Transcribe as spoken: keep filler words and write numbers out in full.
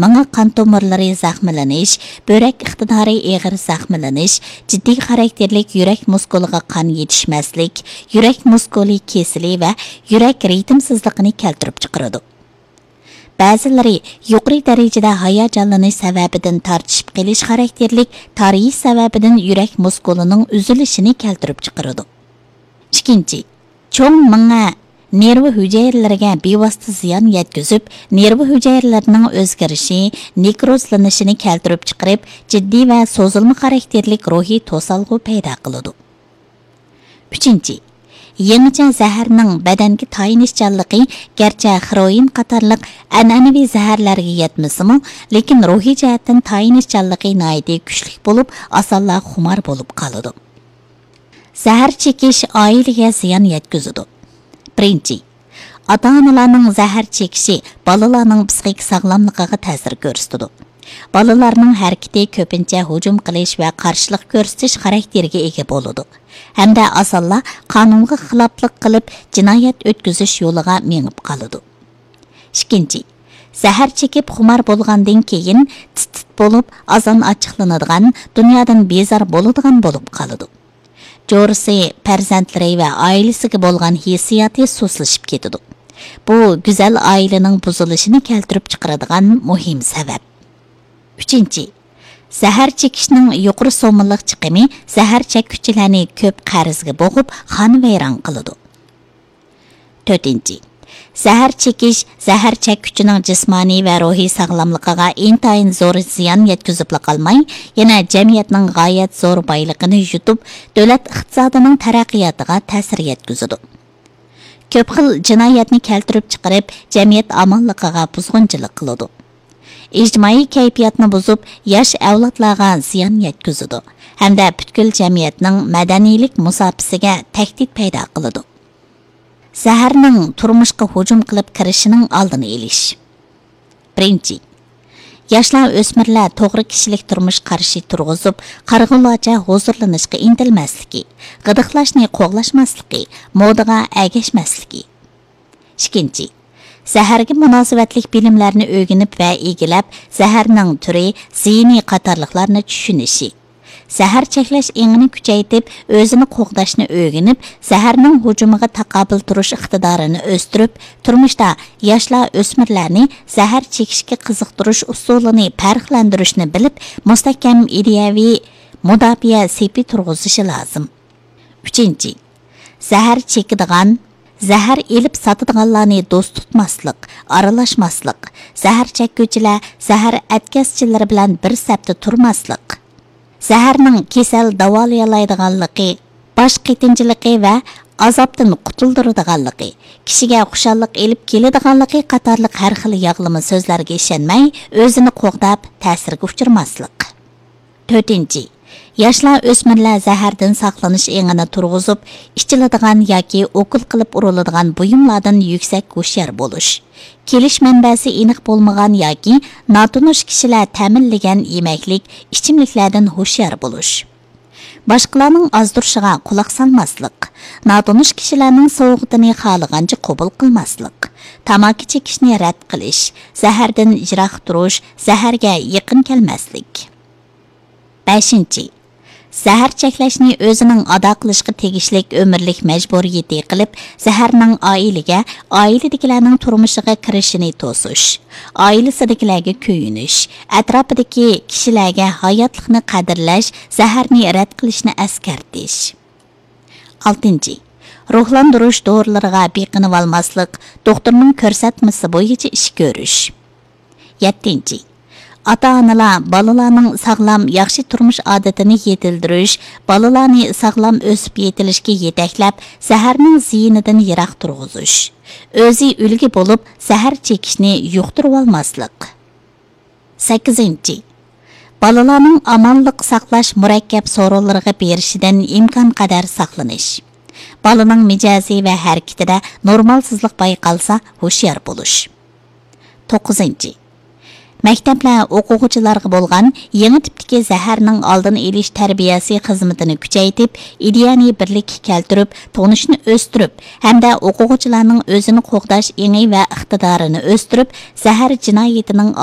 مېڭە قان تومۇرلىرى زەخىملىنىش، بۆرەك ئىقتىدارى ئېغىر زەخىملىنىش، جىددىي خاراكتېرلىك يۈرەك مۇسكۇلىغا قان يېتىشمەسلىك، يۈرەك مۇسكۇلى كېسىلى ۋە يۈرەك رىتىمسىزلىقىنى كەلتۈرۈپ چىقىرىدۇ. بەزىلىرى يۇقىرى دەرىجىدە ھاياجانلىنىش سەۋەبىدىن تارتىشىپ قېلىش خاراكتېرلىك تارىيىش سەۋەبىدىن يۈرەك مۇسكۇلىنىڭ ئۈزۈلۈشىنى كەلتۈرۈپ چىقىرىدۇ. ئىككىنچى، چوڭ مېڭە نېرۋا ھۈجەيرىلىرىگە بىۋاسىتە زىيان يەتكۈزۈپ، نېرۋا ھۈجەيرىلىرىنىڭ ئۆزگىرىشى، نېكروزلىنىشىنى كەلتۈرۈپ چىقىرىپ، جىددىي ۋە سوزۇلما خاراكتېرلىك روھىي توسالغۇ پەيدا قىلىدۇ. ئۈچىنچى، يېڭىچە زەھەرنىڭ بەدەنگە تايىنىشچانلىقى گەرچە خېروئىن قاتارلىق ئەنئەنىۋى زەھەرلەرگە يەتمىسىمۇ، لېكىن روھىي جەھەتتىن تايىنىشچانلىقى ناھايىتى كۈچلۈك بولۇپ، ئاسانلا خۇمار بولۇپ قالىدۇ. زەھەر چېكىش ئائىلىگە زىيان يەتكۈزىدۇ. بىرىنچى، ئاتا-ئانىلارنىڭ زەھەر چېكىشى بالىلارنىڭ پسىخىك ساغلاملىقىغا تەسىر كۆرسىتىدۇ. بالىلارنىڭ ھەرىكىتى كۆپىنچە ھۇجۇم قىلىش ۋە قارشىلىق كۆرسىتىش خاراكتېرىگە ئىگە بولىدۇ ھەمدە ئاسانلا قانۇنغا خىلاپلىق قىلىپ، جىنايەت ئۆتكۈزۈش يولىغا مېڭىپ قالىدۇ. ئىككىنچى، زەھەر چېكىپ خۇمار بولغاندىن كېيىن تىت-تىت بولۇپ، ئازان ئاچچىقلىنىدىغان، دۇنيادىن بىزار بولىدىغان بولۇپ قالىدۇ. جورىسى، پەرزەنتلىرى ۋە ئائىلىسىگە بولغان ھېسسىياتى سۇسلىشىپ كېتىدۇ. بۇ گۈزەل ئائىلىنىڭ بۇزۇلۇشىنى كەلتۈرۈپ چىقىرىدىغان مۇھىم سەۋەب. ئۈچىنچى، زەھەر چېكىشنىڭ يۇقىرى سوممىلىق چىقىمى زەھەر چەككۈچىلەرنى كۆپ قەرزگە بوغۇپ، خانىۋەيران قىلىدۇ. تۆتىنچى، زەھەر چېكىش زەھەر چەككۈچىنىڭ جىسمانىي ۋە روھىي ساغلاملىقىغا ئىنتايىن زور زىيان يەتكۈزۈپلا قالماي، يەنە جەمئىيەتنىڭ غايەت زور بايلىقىنى يۇتۇپ، دۆلەت ئىقتىسادىنىڭ تەرەققىياتىغا تەسىر يەتكۈزىدۇ. كۆپ خىل جىنايەتنى كەلتۈرۈپ چىقىرىپ، جەمئىيەت ئامانلىقىغا بۇزغۇنچىلىق قىلىدۇ. ئىجتىمائىي كەيپىياتنى بۇزۇپ، ياش ئەۋلادلارغا زىيان يەتكۈزىدۇ ھەمدە پۈتكۈل جەمئىيەتنىڭ مەدەنىيلىك مۇساپىسىگە تەھدىت پەيدا قىلىدۇ. زەھەرنىڭ تۇرمۇشقا ھۇجۇم قىلىپ كىرىشىنىڭ ئالدىنى ئېلىش. بىرىنچى، ياشلار، ئۆسمۈرلەر توغرا كىشىلىك تۇرمۇش قارىشى تۇرغۇزۇپ، قارىغۇلارچە ھۇزۇرلىنىشقا ئىنتىلمەسلىكى، غىدىقلاشنى قوغلاشماسلىقى، مودىغا ئەگەشمەسلىكى. ئىككىنچى، زەھەرگە مۇناسىۋەتلىك بىلىملەرنى ئۆگىنىپ ۋە ئىگىلەپ، زەھەرنىڭ تۈرى، زىيىنى قاتارلىقلارنى چۈشىنىشى. زەھەر چەكلەش ئېڭىنى كۈچەيتىپ، ئۆزىنى قوغداشنى ئۆگىنىپ، زەھەرنىڭ ھۇجۇمىغا تاقابىل تۇرۇش ئىقتىدارىنى ئۆستۈرۈپ، تۇرمۇشتا ياشلار، ئۆسمۈرلەرنى زەھەر چېكىشكە قىزىقتۇرۇش ئۇسۇلىنى پەرقلەندۈرۈشنى بىلىپ، مۇستەھكەم ئىدىيەۋى مۇداپىئە سېپى تۇرغۇزۇشى لازىم. ئۈچىنچى، زەھەر چېكىدىغان، زەھەر ئېلىپ ساتىدىغانلارنى دوست تۇتماسلىق، ئارىلاشماسلىق، زەھەر چەككۈچىلەر، زەھەر ئەتكەسچىلىرى بىلەن بىر سەپتە تۇرماسلىق، زەھەرنىڭ كېسەل داۋالىيالايدىغانلىقى، باش قېتىنچىلىقى ۋە ئازابتىن قۇتۇلدۇرىدىغانلىقى، كىشىگە خۇشاللىق ئېلىپ كېلىدىغانلىقى قاتارلىق ھەر خىل ياغلىما سۆزلەرگە ئىشەنمەي، ئۆزىنى قوغداپ، تەسىرگە ئۇچرىماسلىق. تۆتىنچى، ياشلار، ئۆسمۈرلەر زەھەردىن ساقلىنىش ئېڭىنى تۇرغۇزۇپ، ئىچىلىدىغان ياكى ئوكۇل قىلىپ ئۇرۇلىدىغان بۇيۇملاردىن يۈكسەك ھوشيار بولۇش، كېلىش مەنبەسى ئېنىق بولمىغان ياكى ناتونۇش كىشىلەر تەمىنلىگەن يېمەكلىك، ئىچىملىكلەردىن ھوشيار بولۇش، باشقىلارنىڭ ئازدۇرۇشىغا قۇلاق سالماسلىق، ناتونۇش كىشىلەرنىڭ سوۋغىتىنى خالىغانچە قوبۇل قىلماسلىق، تاماكا چېكىشنى رەت قىلىش، زەھەردىن يىراق تۇرۇش، زەھەرگە يېقىن كەلمەسلىك. بەشىنچى، زەھەر چەكلەشنى ئۆزىنىڭ ئادا قىلىشقا تېگىشلىك ئۆمۈرلۈك مەجبۇرىيىتى قىلىپ، زەھەرنىڭ ئائىلىگە، ئائىلىدىكىلەرنىڭ تۇرمۇشىغا كىرىشىنى توسۇش، ئائىلىسىدىكىلەرگە كۆيۈنۈش، ئەتراپىدىكى كىشىلەرگە ھاياتلىقنى قەدىرلەش، زەھەرنى رەت قىلىشنى ئەسكەرتىش. ئالتىنچى، روھلاندۇرۇش دورىلىرىغا بېقىنىۋالماسلىق، دوختۇرنىڭ كۆرسەتمىسى بويىچە ئىش كۆرۈش. يەتتىنچى، ئاتا-ئانىلار بالىلارنىڭ ساغلام، ياخشى تۇرمۇش ئادىتىنى يېتىلدۈرۈش، بالىلارنى ساغلام ئۆسۈپ يېتىلىشكە يېتەكلەپ، زەھەرنىڭ زىيىنىدىن يىراق تۇرغۇزۇش. ئۆزى ئۈلگە بولۇپ، زەھەر چېكىشنى يۇقتۇرۇۋالماسلىق. سەككىزىنچى، بالىلارنىڭ ئامانلىق ساقلاش مۇرەككەپ سورۇنلىرىغا بېرىشىدىن ئىمكانقەدەر ساقلىنىش. بالىنىڭ مىجەزى ۋە ھەرىكىتىدە نورمالسىزلىق بايقالسا، ھوشيار بولۇش. توققۇزىنچى، مەكتەپلەر ئوقۇغۇچىلارغا بولغان يېڭى تىپتىكى زەھەرنىڭ ئالدىنى ئېلىش تەربىيەسى خىزمىتىنى كۈچەيتىپ، ئىدىيەنى بىرلىككە كەلتۈرۈپ، تونۇشنى ئۆستۈرۈپ ھەمدە ئوقۇغۇچىلارنىڭ ئۆزىنى قوغداش ئېڭى ۋە ئىقتىدارىنى ئۆستۈرۈپ، زەھەر جىنايىتىنىڭ ئالدىنى